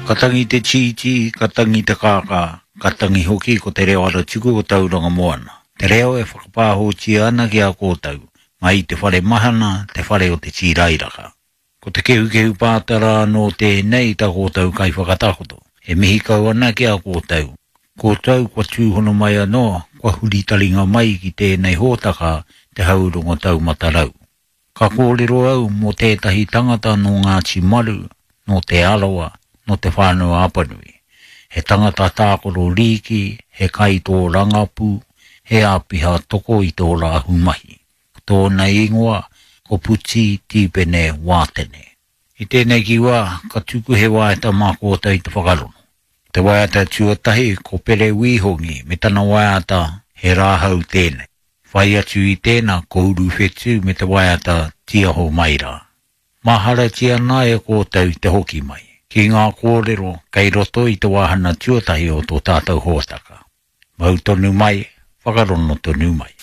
Ka tangi te tītī, ka tangi te kākā, ka tangi hoki ko te reo aratuku o Tauranga Moana, te reo e whakapāhōtia ana ki a kōtou, mai i te whare mahana, te whare o te tīrairaka. Ko te kehukehu pātara anō tēnei tā kōtou kaiwhakatakoto, e mihi kau ana ki a kōtou. Kōtou kua tūhono mai anō, kua huri taringa mai ki tēnei hōtaka Te Haurongo Taumata Rau. Ka kōrero au mō tētahi tangata nō Ngāti Maru, nō Te Arawa, nō Te Whānau-a-Apanui. He tangata tākaro rīki, he kaitōrangapū, he āpiha toko i te ora ahumahi. Ko tōna ingoa, ko Puti Tīpene Wātene. I tēnei ki wā, ka tuku he waiata mā kōtou i te whakarongo. Te waiata tuatahi ko Pere Wīhongi me tana waiata He Rāhau Tēnei. Whai atu i tēnā ko Uruwhetū me te waiata Tiaho Mai Rā. Maharatia ana e kōtou te hoki mai ki ngā kōrero kei roto i te wāhana tuatahi o tō tātou hōtaka. Mau tonu mai, whakarono tonu mai.